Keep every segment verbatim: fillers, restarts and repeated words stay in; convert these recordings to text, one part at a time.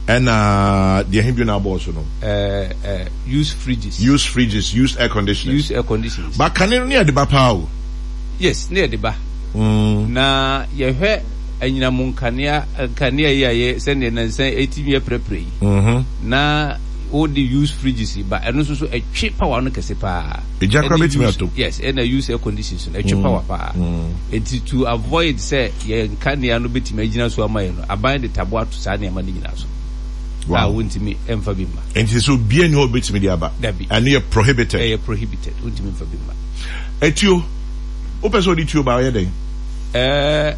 Ɛna deɛ he bio na abɔɔ so no? Uh, uh, used fridges. Used fridges, used air conditioners. Used air conditioners. Ba kane no ne yɛde ba paa o. Yes, ne yɛde ba. Mm. Na yɛhwɛ anyinam nkanea nkanea yi a yɛ sɛdeɛ nansa ɛtumi yɛ prɛprɛ yi. Mm-hmm. Na wode used fridges yi ba, ɛno nso so ɛtwe power no kɛse paa. Egya koraa Ɛne bɛtumi use- atom. Yes, ɛna used air conditions no ɛtwe power paa. Nti to avoid sɛ yɛn nkanea no bɛtumi agyina so ama yɛn no, aban de taboa ato saa nneɛma no nyinaa so. Wow. A wontumi ɛmfa bi mma. Nti sɛ obiara ni hɔ a obɛtumi de aba. Dabi. Ɛno yɛ prohibited. Ɛyɛ prohibited, wontumi mfa bi mma. Etuo, wopɛ sɛ ɔde tuo ba, ɔyɛ dɛn? Ɛɛ,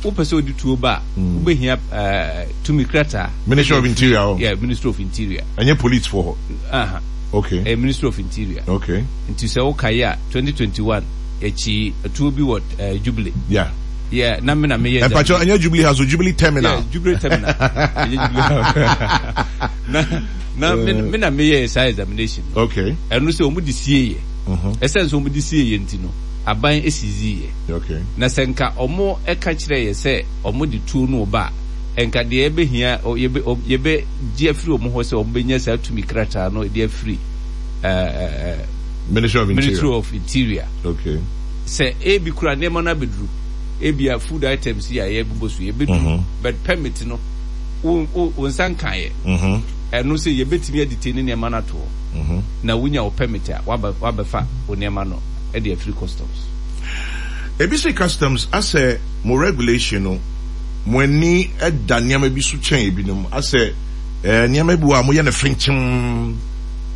wopɛ sɛ wode tuo ba a, wobɛhia ɛɛ, tumi krataa. Ministry of Interior hɔ. Yeah, Ministry of Interior. Ɛnyɛ police foɔ hɔ. Aha. Okay. Ɛyɛ Ministry of Interior. Okay. Nti sɛ wokaeɛ a, twenty twenty-one yɛkyi tuo bi wɔ uh, Jubilee. Yeah. Yeah, na me na meyɛ Mpakyɛ, ɛnyɛ Jubilee House o, Jubilee Terminal. Yeah, Jubilee Terminal. Ɛnyɛ Jubilee House. na na me, me na meyɛ saa examination no. Okay. Ɛno sɛ ɔmo de sie yɛ. Mhm. Ɛsɛn sɛ ɔmo de sie yɛ nti no, aban esisi yɛ. Okay. Na sɛ nka ɔmo ɛka kyerɛ yɛ sɛ ɔmo de tuo no ba a, nka deɛ yɛbɛhia ɔ- yɛbɛ ɔ- yɛbɛgye afiri ɔmo hɔ sɛ ɔmo bɛnya saa tumi krataa no de afiri ɛɛ ɛɛ Ministry of Interior. Ministry of Interior. Okay. Sɛ ebi kura nneɛma no abɛduru, ebi a food items yi a yɛbobɔ so yɛbɛduru, Mhm. but permit no wo wo wo nsa nkaeɛ. Mhm. Ɛno sɛ yɛbɛtumi adetain ne nneɛma no ato hɔ Mhm. na wonya wo permit a, waba wabɛfa wo nneɛma no de afiri customs. Ebi sɛ customs asɛ mo regulation no, mo ani da nneɛma bi so kyɛn ebinom, asɛ ɛɛ nneɛma bi wɔ a moyɛ no fenkyem,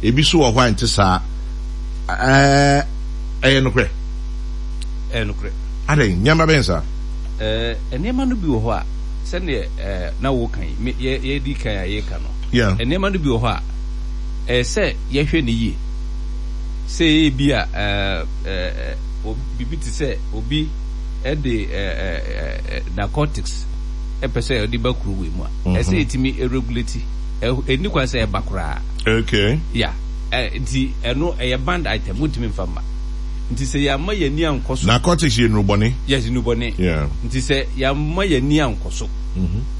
ebi so wɔ hɔ a nte saa. ɛɛ ɛyɛ nokorɛ? Ɛyɛ nokorɛ. Adɛn, nneɛma bɛn saa? Ɛɛ nneɛma no bi wɔ hɔ a, sɛdeɛ ɛɛ na woka yi me yɛ yɛdi kan a yɛka no, Yeah. nneɛma no bi wɔ hɔ a ɛyɛ sɛ yɛhwɛ ne yie sɛ ebi a ɛɛ ɛɛ biribi te sɛ obi ɛde ɛɛ ɛɛ narcotics ɛpɛ sɛ ɔde ba kuro wei mu a, ɛsɛ yɛtumi regulate. Ɛni kwan sɛ ɛba koraa. Okay. Ya, ɛ nti ɛno ɛyɛ banned item, wontumi nfa mma. Nti sɛ yɛama yɛni ankɔ so. Narcotics yɛ nnurubɔne. Yes, nnurubɔne. Yeah. Nti sɛ yɛama yɛni ankɔ so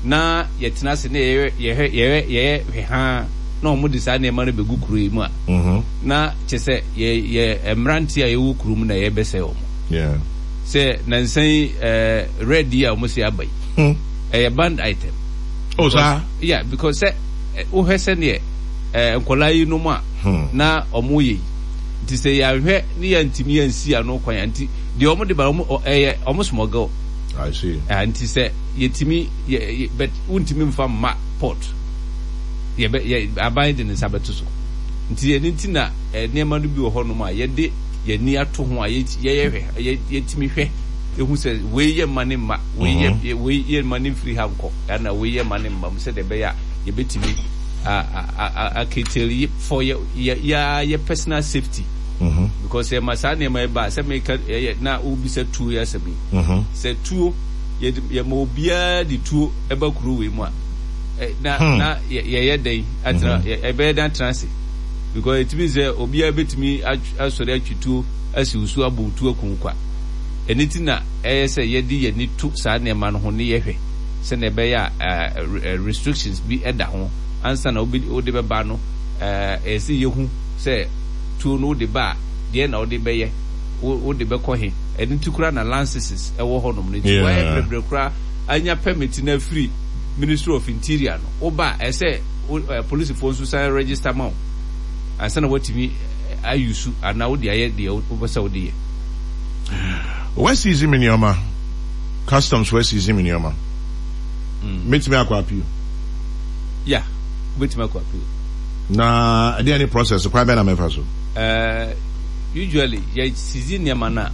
na yɛtena ase na yɛyɛ yɛhwɛ yɛyɛ yɛyɛ hwɛ haa na wɔn de saa nneɛma no bɛgu kuro yi mu a, Mhm. na kyɛ sɛ yɛ yɛ mmeranteɛ a yɛwɔ kuro mu na yɛbɛsɛe wɔn. Yeah. Sɛ nansan yi ɛɛ red yi a wɔn si aba yi, Hmm. ɛyɛ banned item. Oh, saa? Yeah, because sɛ ɛ, wohwɛ sɛneɛ ɛɛ nkɔlaa yi nom a Hmm. na ɔmo yɛ yi, nti sɛ yɛahwɛ ne yɛntumi yɛnsi ano kwan a, nti deɛ ɔmo de ba, ɔmo ɔ- ɛyɛ ɔmo smuggle. I see. Ah, nti sɛ yɛtumi yɛ yɛ but wontumi nfa mma port, yɛbɛ yɛ aban de ne nsa bɛto so. Nti ɛno nti na ɛ nneɛma no bi wɔ hɔnom a yɛde yɛni ato ho a yɛ yɛyɛ hwɛ yɛ yɛtumi hwɛ ehu sɛ wei yɛ mma ne mma, wei yɛ Mhm. yɛ- wei yɛ mma ne mfiri ha nkɔ, ɛna wei yɛ mma ne mma mu, sɛdeɛ ɛbɛyɛ a yɛbɛtumi a a a aketeli for yɛ yɛ yɛ yɛ personal safety, Mhm. because yɛ ma saa nneɛma yi ba a, sɛ meka ɛyɛ na wobisa tuo yɛ asɛm yi, Mhm. sɛ tuo yɛde yɛma obiara de tuo ɛba kuro wei mu a, ɛ, na Hmm. na yɛ- yɛyɛ dɛn atena? Mhm. yɛ- ɛbɛyɛ dɛn atena ase? Because etumi sɛ obiara bɛtumi atw- asɔre atwi tuo asi wo so, abɔ wo tuo akum kwa. Ɛno ti na ɛyɛ sɛ yɛde yɛni to saa nneɛma no ho ne yɛhwɛ sɛnea ɛbɛyɛ a ɛɛ, ɛ, restrictions bi ɛda ho ansa na wobɛ wode bɛba no. ɛɛ ɛyɛ sɛ yɛhu sɛ tuo no wode ba a, deɛ na wode bɛyɛ, wo wode bɛkɔ he. Ɛno nti koraa na licenses ɛwɔ hɔnom no nti Yeah. wɔayɛ brɛbrɛ koraa anya permit no afiri Ministry of Interior no, woba a, ɛsɛ wo ɛ polisifoɔ nso san register ma wo ansa na watumi ayusu anaa wode ayɛ deɛ wopɛ sɛ wode yɛ. Wɔasisi me nneɛma, customs wɔasisi me nneɛma, mɛtumi akɔ appeal? Ya, wobɛtumi akɔ appeal. Na ɛdeɛ ne process kwan bɛn na mɛfa so? Uh, usually yɛ sisi nneɛma no a,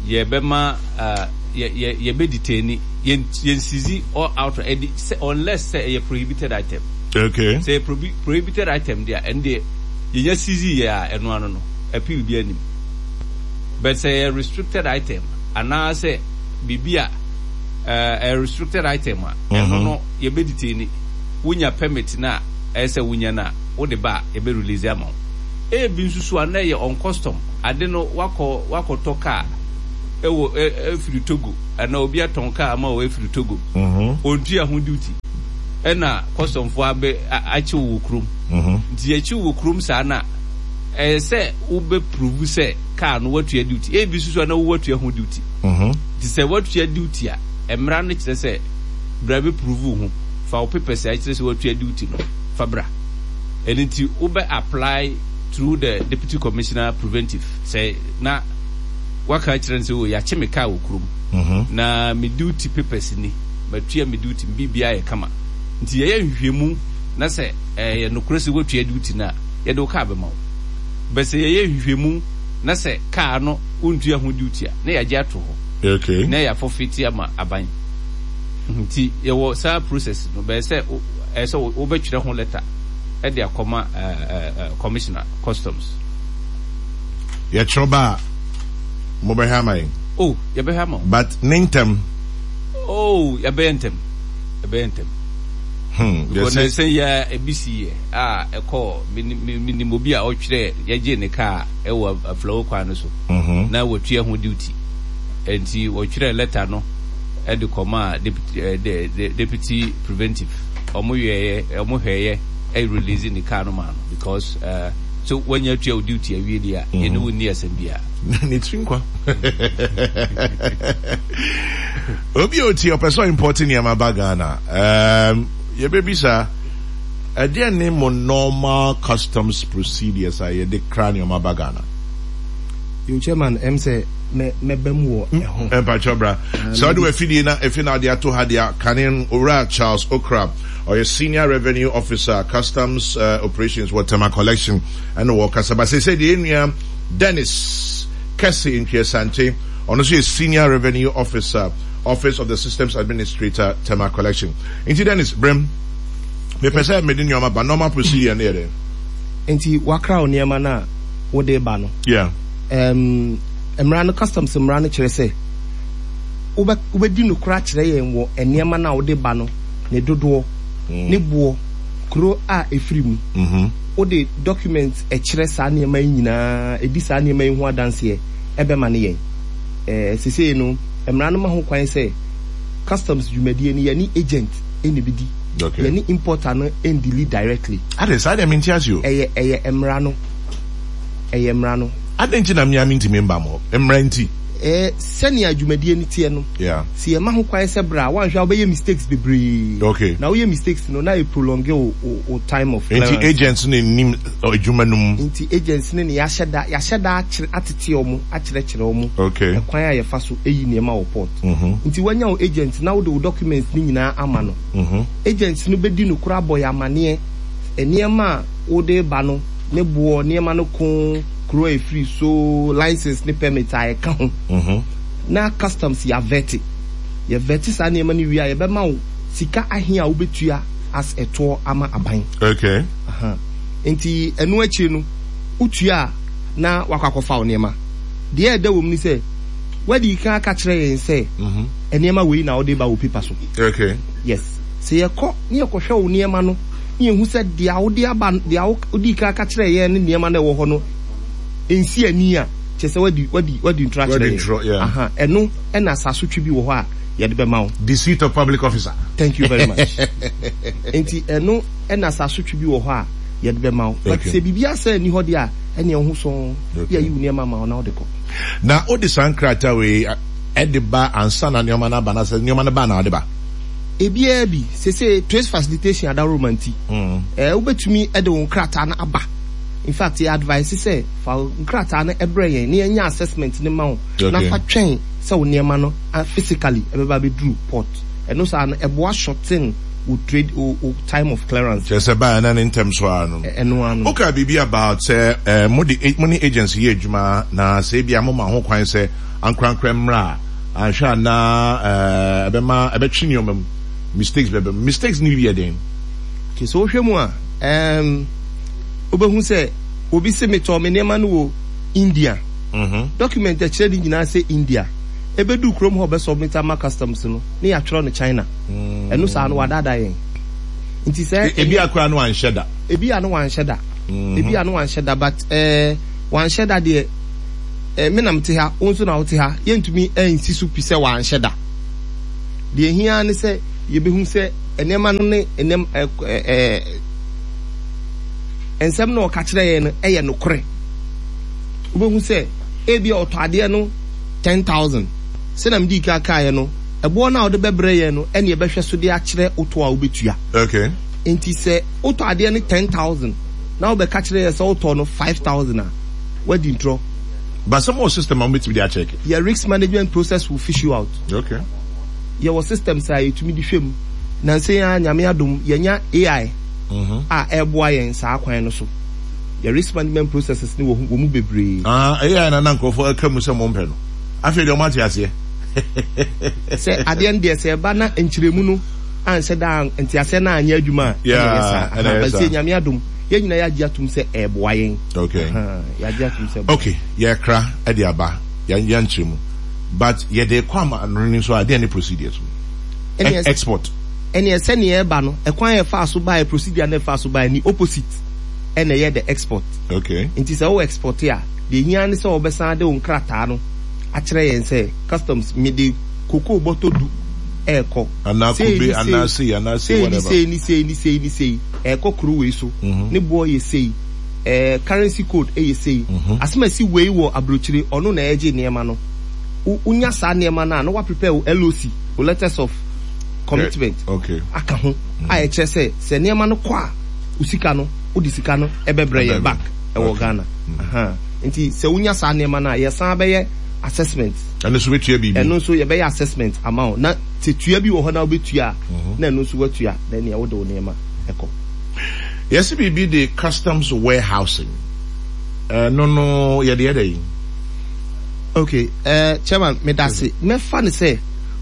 yɛbɛma uh, yɛ yɛ yɛbɛ yɛn yɛn sisi all out ɛdi sɛ unless sɛ ɛyɛ prohibited item. Okay. Sɛ ɛyɛ prohibi prohibited item deɛ, ɛno deɛ yɛnya sisi yɛ a, ɛno ano no appeal bi anim. But sɛ ɛyɛ restricted item anaasɛ biribi a ɛɛ ɛyɛ restricted item a, ɛno no yɛbɛ detain. Wonya permit na ɛyɛ sɛ wonya na wode ba a, yɛbɛ release ama wo. Ebi nso so a na ɛyɛ on custom ade no, wakɔ wakɔtɔ kaa ɛwɔ ɛ ɛfiri Togo anaa obi atɔn kaa ama wɔ efiri Togo, Mhm. ontua ho duty. Ɛna customfoɔ abɛ akye wo wɔ kurom. Nti yɛkye wo wɔ kurom saa no a, ɛyɛ sɛ wobɛ prove sɛ car no woatua duty. Ebi nso so a na wo woatua ho duty. Nti sɛ woatua duty a, mmara no kyerɛ sɛ bra bɛ prove wo ho. Fa wo papers a ɛkyerɛ sɛ woatua duty no fa bra. Ɛno nti wobɛ apply through the deputy commissioner preventive sɛ na waka akyerɛ no sɛ oh yɛakye me car wɔ kurom na me duty papers ni. Matua me duty, me biribiara yɛ kama. Nti yɛyɛ nhwehwɛmu na sɛ ɛyɛ nokorɛ sɛ woatua duty no a, yɛde wo kaa bɛma wo. But sɛ yɛyɛ nhwehwɛmu na sɛ kaa no wontua ho duty a, na yɛagye ato hɔ. Okay. Na yɛafɔfiti ama aban. Nti yɛwɔ saa process no, bɛyɛ sɛ ɛyɛ sɛ wobɛtwerɛ ho letter de akɔma commissioner customs. Yɛtwerɛ ba a, mobɛhwɛ ama yɛn? Oh, yɛbɛhwɛ ama wo. But ne ntɛm. Oh, yɛbɛyɛ ntɛm. Yɛbɛyɛ ntɛm. Hmm, Because yɛsɛ. na sɛ yɛ ebi si yɛ a ɛkɔ menim obi a ɔtwerɛ yɛgye ne kaa ɛwɔ aflawo kwan no so. Mm-hmm. Na wɔtua ho duty. Nti wɔtwerɛ letter no ɛde kɔmaa deputy, eh, de, de, deputy preventive. Ɔmo yɛɛyɛ, ɔmo hwɛɛyɛ ɛ release ne kaa no maa no because uh, so wanya atua wo duty awie deɛ a yɛne wo nni asɛm biara. Ne tiri nkwa. Obi a ɔtie ɔpɛ sɛ ɔimport nneɛma ba Ghana. Um, yɛbɛbisa ɛdeɛ ne mo normal customs procedures a yɛde kra nneɛma ba Ghana? Yo, chairman, ɛm sɛ mɛba mu wɔ ɛho. Mpakyɛ bra. Sɛ wode w'afidie na efi na ade ato ha deɛ kane Owura Charles Okra ɔyɛ Senior Revenue Officer Customs uh, Operations wɔ Tema Collection ɛna wɔkasa ba sɛ sɛ deɛ yɛn Dennis Kesse Ntwi-Asante, ɔno nso yɛ Senior Revenue Officer, Office of the Systems Administrator, Tema Collection. Nti Dennis, brem. Mepɛ sɛ mede nneɛma ba, normal procedure no yɛ dɛn? Nti wakra wo nneɛma no a wode ba no. Yeah. Um, mmara no, customs mmara no kyerɛ sɛ wobɛ wobɛdi nokorɛ akyerɛ yɛn wɔ nneɛma no a wode ba no ne dodoɔ, mm. ne boɔ, kuro a ɛfiri mu. Mm -hmm. Wode document ɛkyerɛ saa nneɛma yi nyinaa, ɛdi saa nneɛma yi ho adanseɛ ɛbɛma ne yɛn. Ɛɛ sesei no, mmara no ma ho kwan sɛ customs dwumadie no yɛne agent ɛna ɛbɛdi. Okay. Yɛne importer no ɛndili directly. Ade saa deɛ mente ase o. Ɛyɛ ɛyɛ mmara no. Ɛyɛ mmara no. Adɛn nti na mmea mentumi mba mo hɔ? Mmara nti. Ɛɛ sɛnea dwumadie no teɛ no, Yeah. sɛ yɛma ho kwan sɛ bra a, woanhwɛ a wobɛyɛ mistakes bebree. Okay. Na woyɛ mistakes no, na ɛ prolonge wo wo wo time of Nti clearance. agents no nnim adwuma no mu. Nti agents no ne yɛahyɛ da yɛahyɛ da akyerɛ atete wɔn, akyerɛkyerɛ wɔn Okay. ɛkwan a yɛfa so yi nneɛma wɔ port. Mhm. Nti woanya wo agent na wode wo documents no nyinaa ama no. Mhm. Agents no bɛdi nokorɛ abɔ yɛn amaneɛ nneɛma a wode reba no ne boɔ, nneɛma no ko, kuro a ɛfiri so, license ne permit a ɛka ho. Mhm. Na customs yɛavɛte. Yɛvɛte saa nneɛma no wie a, yɛbɛma wo sika ahe a wobɛtua as ɛtoɔ ama aban. Okay. Aha. Nti ɛno akyire no, wotua a na wakɔ akɔfa wo nneɛma. Deɛ ɛda wɔ mu ne sɛ, woadi kan aka kyerɛ yɛn sɛ Mhm. nneɛma wei na wode ba wɔ paper so. Okay. Yes. Sɛ yɛkɔ na yɛkɔhwɛ wo nneɛma no na yɛhu sɛ deɛ wode aba no, deɛ wo wodii kan aka kyerɛɛ yɛn ne nneɛma no a ɛwɔ hɔ no nsi ani a, kyerɛ sɛ woadi woadi woadi ntorɔ akyerɛ Wadi yɛn. ntorɔ, yeah. Aha. Ɛno ɛna asasotwe bi wɔ hɔ a yɛde bɛma wo. Deceit of public officer. Thank you very much. Nti ɛno ɛna asasotwe bi wɔ hɔ a yɛde bɛma wo. But Okay. sɛ biribi asɛ nni hɔ deɛ a, ɛneɛ wo ho sɔn. Okay. Yɛayi wo nneɛma ama wo na wode kɔ. Na wode saa nkrataa wei ɛde ba ansa na nneɛma no aba anaasɛ nneɛma no ba na wode ba? Ebiara bi, seesei trace facilitation adaworoma nti, eh, wobɛtumi de wo nkrataa no aba. In fact, yɛ advice sɛ fa wo nkrataa no brɛ yɛn na yɛnyɛ assessment no ma wo na Okay. fa twɛn sɛ wo nneɛma no ah, physically ɛbɛba abɛduru port. Ɛno saa no, ɛboa shorten wo trade, wo, wo time of clearance. Kyerɛ sɛ baeɛ na ne ntɛm so ara no. Ɛ- Ɛno ara no. Wokaa biribi about sɛ eh, mode mo ne agency yɛ adwuma na sɛ ebia moma ho kwan sɛ ankorankorɛ mmra a, anhwɛ a na eh, ɛbɛma ɛbɛtwe nneɛma mu, mistakes bɛba mu. Mistakes no bi yɛ den? Okay, so wohwɛ mu a, um, wobɛhu sɛ obi se metɔɔ me nneɛma no wɔ India. Mhm. Document a ɛkyerɛ ne nyinaa sɛ India. Ɛbɛduu kurom hɔ ɔbɛsubmit ama customs no, ne yɛatwerɛ no China. Ɛno saa no wadaadaa yɛn. Nti sɛ E- Ebi akora no anhyɛ da. ebi a no wanhyɛ da. Ebi a no wanhyɛ da but eh, wanhyɛ da deɛ eh, me na mete ha, wo nso na wote ha, yɛntumi nsi so pi sɛ wanhyɛ da. Deɛ ehia ne sɛ yɛbɛhu sɛ nneɛma no ne nneɛma ɛ ɛ nsɛm na ɔka kyerɛ yɛn no ɛyɛ nokorɛ. Wobɛhu sɛ ebi a ɔtɔ adeɛ no ten thousand, sɛnea mede ka kaeɛ no, ɛboɔ no a wode bɛbrɛ yɛn no ɛne yɛbɛhwɛ so de akyerɛ wotɔ a wobɛtua. Okay. Nti sɛ wotɔ adeɛ no ten thousand na wobɛka kyerɛ yɛ sɛ wotɔ no five thousand a, wadi ntorɔ. But some more system a mobɛtumi de akyɛke. Yɛ risk management process will fish you out. Okay. Yɛwɔ systems a yɛtumi de hwɛ mu. Nansa yi ara, Nyame adom, yɛnya A I mm-hmm. a ɛreboa yɛn saa kwan no so. Yɛ risk management processes ne wɔ wɔ mu bebree. Ah, A I na na nkurɔfoɔ aka mu sɛ mo mpɛ no. Afei deɛ ɔmo ate aseɛ. Sɛ adeɛ no deɛ, sɛ ɛba na nkyerɛmu no anhyɛ da nteaseɛ no anyɛ adwuma a, ɛna ɛyɛ saa. ɛna ɛyɛ But saa. sɛ Nyame adom, yɛn nyinaa yɛagye atom sɛ ɛɛboa yɛn. Okay. Aha, yɛagye atom sɛ ɛboa. Okay, yɛkra ɛde aba, yɛn yɛnkyerɛ mu. But yɛde kɔ ama ano no nso a, deɛ ne procedures no? Ɛne Export. Ɛneɛ sɛneɛ ɛba no, ɛkwan a ɛfaa so baeɛ, procedure no ɛfaa so baeɛ ni opposite ɛna ɛyɛ the export. Okay. Nti sɛ wo export a, deɛ hia ne sɛ wɔbɛsan de wo nkrataa no akyerɛ yɛn sɛ customs, mede cocoa bɔtɔ du ɛɛkɔ. Anaa Sei kube, ne anaa sei, sei, anaa sei, sei ne whatever. sei ne sei ne sei ne sei ɛɛkɔ kuro wei so. Mhm. Ne boɔ yɛ sei, ɛɛ currency code ɛyɛ sei. Mhm. Asɛm a ɛsi wei wɔ aburokyire, ɔno na ɛgye nneɛma no. Wo wonya saa nneɛma no a, na wa prepare wo L O C, wo letters of commitment Okay. aka ho a ɛkyerɛ sɛ sɛ nneɛma no kɔ a, wo sika no, wode sika no ɛbɛbrɛ yɛn Ɛbɛbrɛ. back ɛwɔ Okay. Ghana. Aha. Nti sɛ wonya saa nneɛma no a, yɛsan bɛyɛ assessment. Ɛno nso bɛtua biribi. Ɛno nso yɛbɛyɛ assessment ama wo, na sɛ tua bi wɔ hɔ na wobɛtua a, na ɛno nso watua, na nea wode wo nneɛma ɛkɔ. Yɛsi biribi de customs warehousing. Ɛno no yɛde yɛ dɛ yi? Okay, uh, Chairman, medase. Mɛfa ne sɛ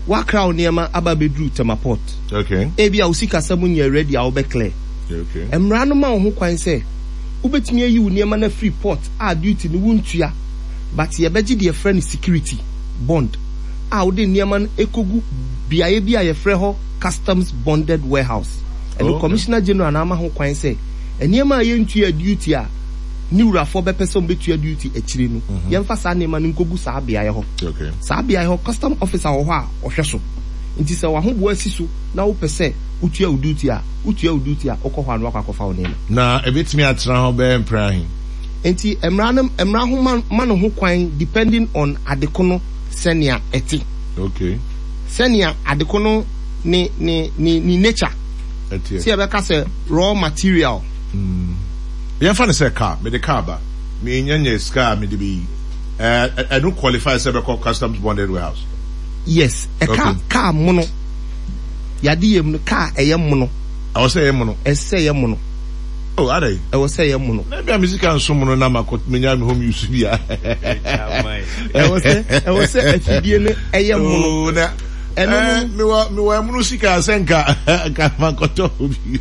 wakra wo nneɛma aba abɛduru Tema Port. Okay. Ebi a wo sikasɛm nyɛ ready a wobɛ clear. Okay. Mmara no ma wo ho kwan sɛ wobɛtumi ayi wo nneɛma no afiri port a duty no wontua, but yɛbɛgye deɛ yɛfrɛ no security bond a wode nneɛma no ɛkɔgu beaeɛ bi a yɛfrɛ hɔ customs bonded warehouse. Ɛno Okay. Commissioner General na ama ho kwan sɛ nneɛma a yɛntua duty a ne wurafoɔ bɛpɛ sɛ wɔbɛtua duty akyire no, yɛmfa saa nneɛma no nkɔgu saa beaeɛ hɔ. Okay. Saa beaeɛ hɔ, custom officer wɔ hɔ a ɔhwɛ so. Nti sɛ w'ahoboa si so na wopɛ sɛ wotua wo duty a, wotua wo duty a, wokɔ hɔ a na wakɔ akɔfa wo nneɛma. Na ebetumi atena hɔ bɛyɛ mpere ahe? Nti mmara no, mmara ho ma, ma no ho kwan depending on adeko no sɛnea ɛte. Okay. Sɛnea adeko no ne ne ne ne nature. Ɛteɛ. Sɛ yɛbɛka sɛ raw material. Mm. Yɛmfa no sɛ car, mede car ba. Menya nyɛ sika a mede bɛyi. Ɛɛ ɛno qualify sɛ bɛkɔ customs bonded warehouse? Yes, ɛka Okay. car mono. Yade yɛ mu no, car ɛyɛ mono. Ɛwɔ sɛ ɛyɛ mono. Ɛsɛ sɛ ɛyɛ mono. Oh, adai. Ɛwɔ sɛ ɛyɛ mono. Na bi a me sika nso mono na makɔ menya me home use bi a. Ɛwɔ sɛ ɛwɔ sɛ afidie no ɛyɛ mono. Oh, na Ɛno eh, no mewɔ mewɔ ɛmono sika sɛ nka nka mankɔtɔ bi.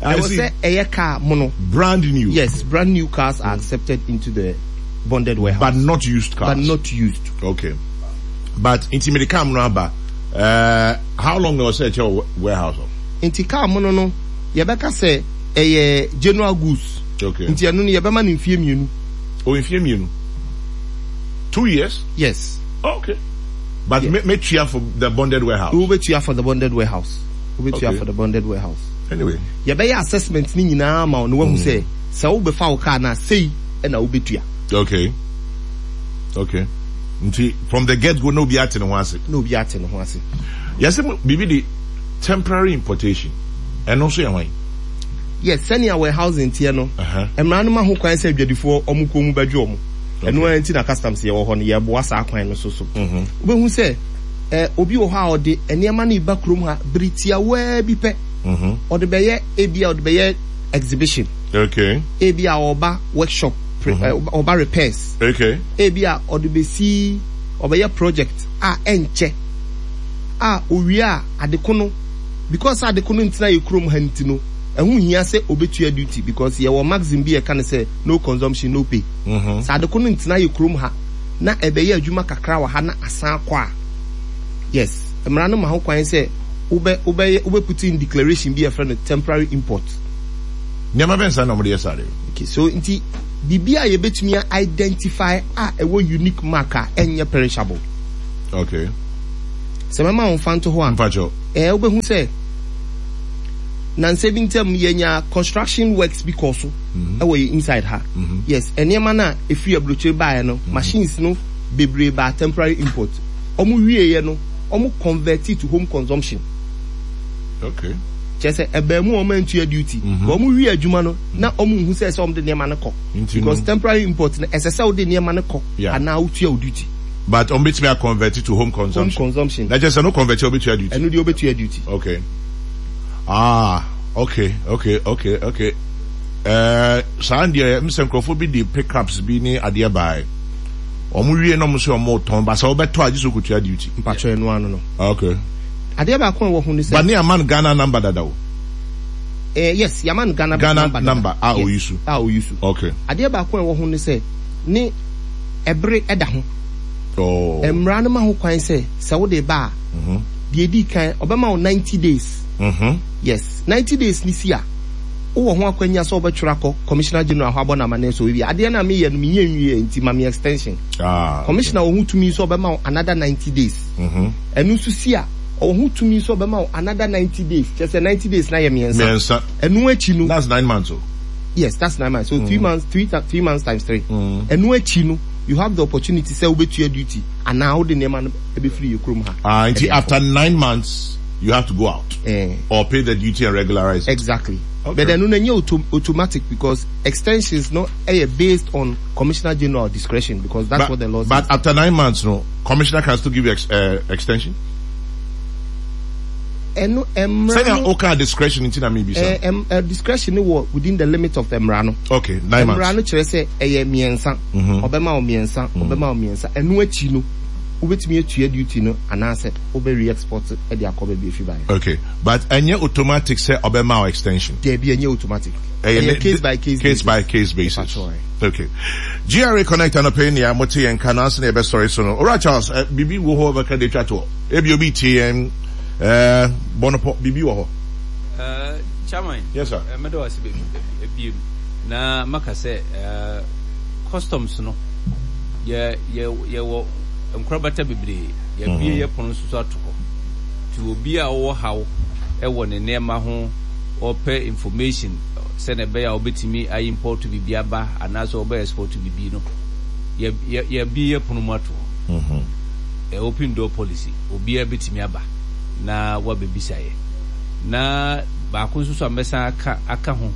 I ɛwɔ see. Sɛ ɛyɛ car mono. Brand new. Yes, brand new cars are accepted into the bonded warehouse. But not used cars. But not used. Okay. But nti mede car mono aba. Uh, how long na ɔsɛ ɛkyɛ wɔ warehouse hɔ? Nti car mono no, yɛbɛka sɛ ɛyɛ general goods. Okay. Nti ɛno no yɛbɛma no mfie mmienu. Oh, mfie mmienu. Two years? Yes. Okay. But Yeah. me metua for the bonded warehouse. Wobɛtua for the bonded warehouse. Wobɛtua Okay. for the bonded warehouse. Anyway. Yɛbɛyɛ assessment ne nyinaa ma wo na wahu sɛ sɛ wobɛfa wo car no a, sei ɛna wobɛtua. Okay. Okay. Nti from the get go na obi ate ne ho ase. Na obi ate ne ho ase. Yɛsɛ mo biribi de temporary importation. Ɛno nso yɛ hwan? Yes, sɛnea warehousing teɛ no, Uh-huh. mmara no ma ho kwan sɛ adwadifoɔ ɔmo kɔn mu bɛdwe ɔmo. Ɛno Okay. ara nti na customs yɛwɔ hɔ no, yɛboa saa kwan no so so. Mhm. Wobɛhu sɛ eh, obi wɔ hɔ a ɔde nneɛma no ba kurom ha bere tiawaa bi pɛ. Mhm. Ɔde bɛyɛ, ebi a ɔde bɛyɛ exhibition. Okay. Ebi a ɔba workshop, pre- Mhm. eh, ɔba repairs. Okay. Ebi a ɔde bɛsi ɔbɛyɛ project a ɛnkyɛ a owie a, adeko no, because adeko no ntena yɛ kurom ha nti no, ɛho hia sɛ obetua duty, because yɛwɔ maxim bi a ɛka ne sɛ no consumption, no pay. Mhm. Sɛ adeko no ntena yɛ kurom ha na ɛbɛyɛ adwuma kakra wɔ ha na asan akɔ a, yes, mmara no ma ho kwan sɛ wobɛ wobɛyɛ wobɛ put in declaration bi a yɛfrɛ no temporary import. Nneɛma bɛn saa na wɔde yɛ saa de? Okay, so nti biribi a yɛbɛtumi a identify a ɛwɔ unique mark a ɛnyɛ perishable. Okay. Sɛ mɛma wo mfa nto hɔ a, Mpakyɛw. Ɛɛ wobɛhu sɛ nansa bi ntam yɛnya construction works bi kɔɔ so mm-hmm. ɛwɔ yɛ inside ha. Mm-hmm. Yes, nneɛma no a ɛfiri aburokyire baeɛ no, mm-hmm. machines no bebree baa temporary import. Wɔn wieɛ no, wɔn convert to home consumption. Okay. Kyerɛ sɛ ɛbaa mu a wɔn antua duty. But wɔn wie adwuma no na wɔn nhu sɛ ɛsɛ wɔn de nneɛma no kɔ. Because temporary import no ɛsɛ sɛ wɔde nneɛma no kɔ anaa wotua wo duty. But wɔn betumi a convert to home consumption. Home consumption. Na kyerɛ sɛ no convert a wobetua duty. Ɛno deɛ wobetua duty. Okay. Ah, okay, okay, okay, okay. Ɛɛ eh, saa deɛ m sɛ nkurɔfoɔ bi de pickups bi ne adeɛ bae. Wɔn wie na wɔn sɛ wɔn tɔn ba sɛ wɔbɛtɔ a gye sɛ wokotua duty. Mpatsɔ ɛno ano no. Okay. Adeɛ baako a ɛwɔ ho ne sɛ. But ne ama no Ghana number dada o. Eh, yes, yɛama no Ghana, Ghana number dada. number a yes, oyi so. A oyi so. Okay. Adeɛ baako a ɛwɔ ho ne sɛ ne ɛbere ɛda ho. Oh. Mmara no ma ho kwan sɛ sɛ wode ba a, mm -hmm. deɛ edi kan ɔbɛma wo ninety days. Mm -hmm. Yes, ninety days ni si a wowɔ ho akwanya sɛ wobɛtwerɛ akɔ Commissioner General hɔ abɔ no amanneɛ sɛ obi adeɛ no a meyɛ no menyɛ nwie nti ma me extension. Ah, okay. Commissioner wɔ ho tumi sɛ ɔbɛma wo another ninety days. Mm -hmm. Ɛno nso si a, ɔwɔ ho tumi sɛ ɔbɛma wo another ninety days, kyerɛ sɛ ninety days no ayɛ mmiɛnsa. Mmiɛnsa. Ɛno akyi no. That's nine months o. Yes, that's nine months. So mm. three months, three, three months times three. Mm. Ɛno akyi no, you have the opportunity sɛ wobɛtua duty anaa wode nneɛma no ɛbɛfiri yɛ kurom ha. Ah, nti after nine months, you have to go out. Eh. Or pay the duty and regularize it. Exactly. Okay. But ɛno no ɛnyɛ auto automatic because extensions no ɛyɛ based on Commissioner General discretion because that's but, what the law says. But after nine months, no, Commissioner can still give you ex, uh, extension? Ɛno mmara no. Sɛnea oka discretion nti na mebisa. Eh, em, eh, discretion no wɔ within the limit of mmara no. Okay, nine months. Mmara no kyerɛ sɛ ɛyɛ mmiɛnsa. Mm-hmm. Ɔbɛma wo mmiɛnsa, mm. ɔbɛma wo mmiɛnsa. Ɛno akyi no, wobɛtumi atua duty no anaasɛ wobɛ re-export de akɔ baabi efi baeɛ. Okay, but ɛnyɛ automatic sɛ ɔbɛma wo extension. Daabi, ɛnyɛ automatic. Ɛyɛ case by case basis. Case by case basis. Okay. GRA Connect anɔpa yi nea mote yɛn nka no ansa na yɛbɛsɔre so no. Owura Charles, eh, biribi wɔ hɔ bɛka de atwa toɔ? Ebi obi tie yɛn eh, bɔ no pɔ, biribi wɔ hɔ? Uh, Chairman, yes, sir. Uh, mɛda wase baabi na maka sɛ uh, customs no yɛ yɛ yɛwɔ nkorabata bebree yɛabie mm-hmm. yɛ pono nso so ato hɔ nti obi a ɔwɔ haw ɛwɔ ne nneɛma ho ɔpɛ information sɛnea ɛbɛyɛ a wobɛtumi a import biribi aba anaasɛ wɔbɛ export biribi no, yɛ yɛ yɛabue yɛ pono mu ato hɔ. Ɛ open door policy, obiara bɛtumi aba na wabɛbisa yɛ. Na baako nso so a mɛsan aka aka ho,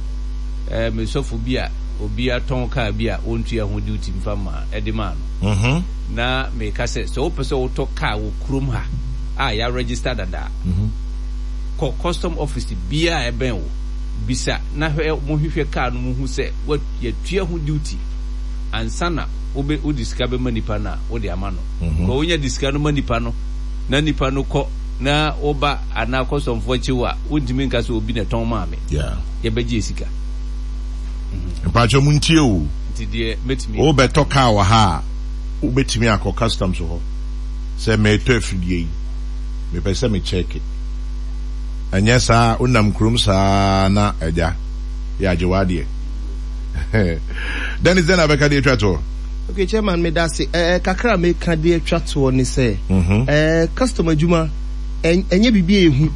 ɛ me sɔfo bi a obi atɔn kaa bi a wɔntua ho duty mfa mmaa ɛde maa no. Na meka sɛ sɛ wopɛ sɛ wotɔ kaa wɔ kurom ha a yɛaregister dada a, kɔ custom office biara a ɛbɛn wo. Bisa na hwɛ mo hwehwɛ car no mu hu sɛ wa yɛtua ho duty ansa na wobɛ wode sika bɛma nipa no a wode ama no because wonya de sika no ma nipa no na nipa no kɔ na woba anaa kɔsɔmfoɔ kye wo a wontumi nka sɛ obi na ɛtɔn maa me Yeah. yɛbɛgye yɛ sika. Mpakyɛ mo ntie o. Nti deɛ mɛtumi. Wobɛtɔ car wɔ ha a wobɛtumi akɔ customs hɔ sɛ meretɔ afidie yi mepɛ sɛ me check. Ɛnyɛ saa a wonam kurom saa na agya yɛagye w'adeɛ. Dennis dɛn na bɛka de atwa toɔ? Okay chairman meda ase eh, kakra a meka de atwa toɔ ne sɛ eh, custom adwuma ɛnyɛ biribi a ɛhu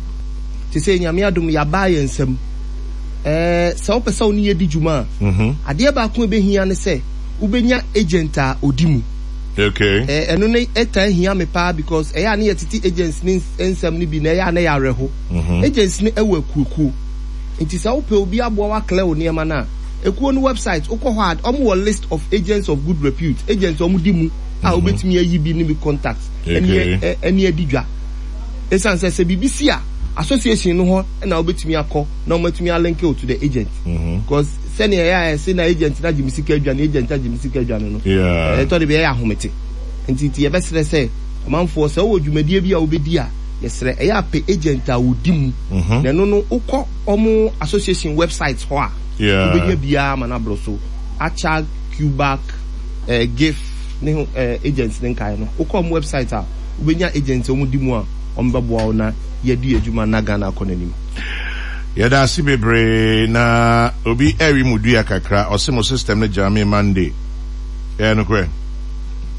te sɛ Nyame adom yɛabaa yɛn nsam eh, sɛ wopɛ sɛ wo ne yɛdi dwuma a adeɛ baako a ɛbɛhia ne sɛ wobɛnya agent a ɔdi mu. Okay. Eh, ɛno ne ɛtaa hia me paa because ɛyɛ a ne yɛtete agents ne nsɛm no bi na ɛyɛ a na ɛyɛ awerɛho. Mm-hmm. Agents no ɛwɔ akuokuo. Nti sɛ wopɛ obi aboa wo aklɛ wo nneɛma no a, ekuo no website wokɔ hɔ a wɔn wɔ list of agents of good repute, agents a wɔn di mu a mm-hmm. wobɛtumi ayi bi ne bi contact ɛne ɛne adi dwa. Ɛsiane sɛ sɛ biribi si a association no hɔ na wobɛtumi akɔ na wɔatumi alinke wo to the agent. Mm-hmm. Because sɛnea ɛyɛ a ɛse na agent no agye me sika adwane, agent agye me sika adwane no, ɛtɔ de bi ɛyɛ ahomete. Nti nti yɛbɛsrɛ sɛ ɔmanfoɔ sɛ wowɔ dwumadie bi a wobɛdi a, yɛsrɛ ɛyɛ a pɛ agent a ɔdi mu. Na ɛno no wokɔ wɔn association website hɔ a, wobɛnya biara ama no aboro so. Achag, Cubac, eh, GIF ne ho eh, agents ne nkaeɛ no, wokɔ wɔn website a, wobɛnya agents a wɔdi mu a wɔbɛboa wo na yɛadi adwuma na Ghana akɔ n'anim. Yɛda ase bebree na obi ɛwe mu dua kakra ɔse mo system no gyame Monday ɛyɛ nokorɛ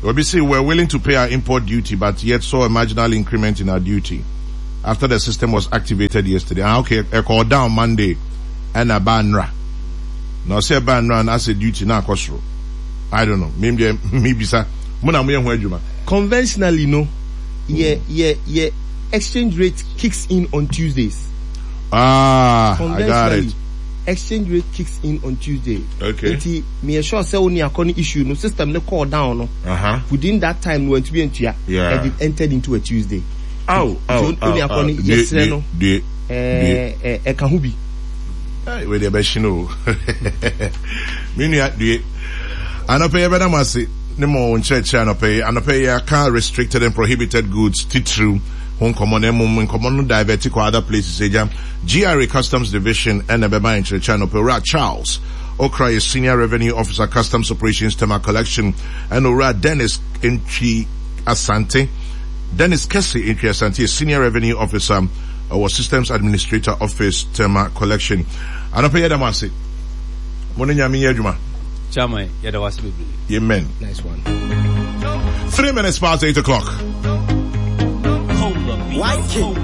obi se we're willing to pay our import duty but yet saw a marginal increment in our duty after the system was activated yesterday. Ah, okay, ɛkɔɔ down Monday ɛna ɛbaa nnora. Na ɔsɛ ɛbaa nnora na asɛ duty na akɔ soro. I don't know. Me deɛ mebisa. Mo na moyɛ ho adwuma. Conventionally no, yɛ yɛ yɛ exchange rate kicks in on Tuesdays. Ah, I got Conventionally, it. exchange rate kicks in on Tuesday. Okay. Nti meyɛ sure sɛ wo ne akɔ no issue no system no kɔɔ down no. Uh-huh. Within that time no wantumi antua. Yeah. And it entered into a Tuesday. Ow, Nti ow, wo ne ow, akɔ ow. no Die, yɛsrɛ die, no die, die. ɛɛ ɛ ɛka ho bi. Hey, wei deɛ ɛbɛhye no o. Me nua due. Anɔpɛ yi yɛbɛda mo ase ne mo nkyerɛkyerɛ anɔpɛ yi. Anɔpɛ yi yɛaka restricted and prohibited goods titiriw ho nkɔmmɔ na mmom nkɔmmɔ no divert kɔ other places agya. GRA Customs Division ɛna ɛbɛma yɛn nkyerɛkyerɛ anɔpɛ. Owura Charles Okra yɛ Senior Revenue Officer Customs Operations Tema Collection ɛna Owura Dennis Ntwi Asante Dennis Kese Ntwi Asante yɛ Senior Revenue Officer ɔwɔ Systems Administrator Office Tema Collection. Anɔpɛ yi yɛda mo ase. Mo ne Nyame nyɛ adwuma. Chairman, yɛda wo ase bebree. Amen. Nice one. Three minutes past eight o'clock. White King.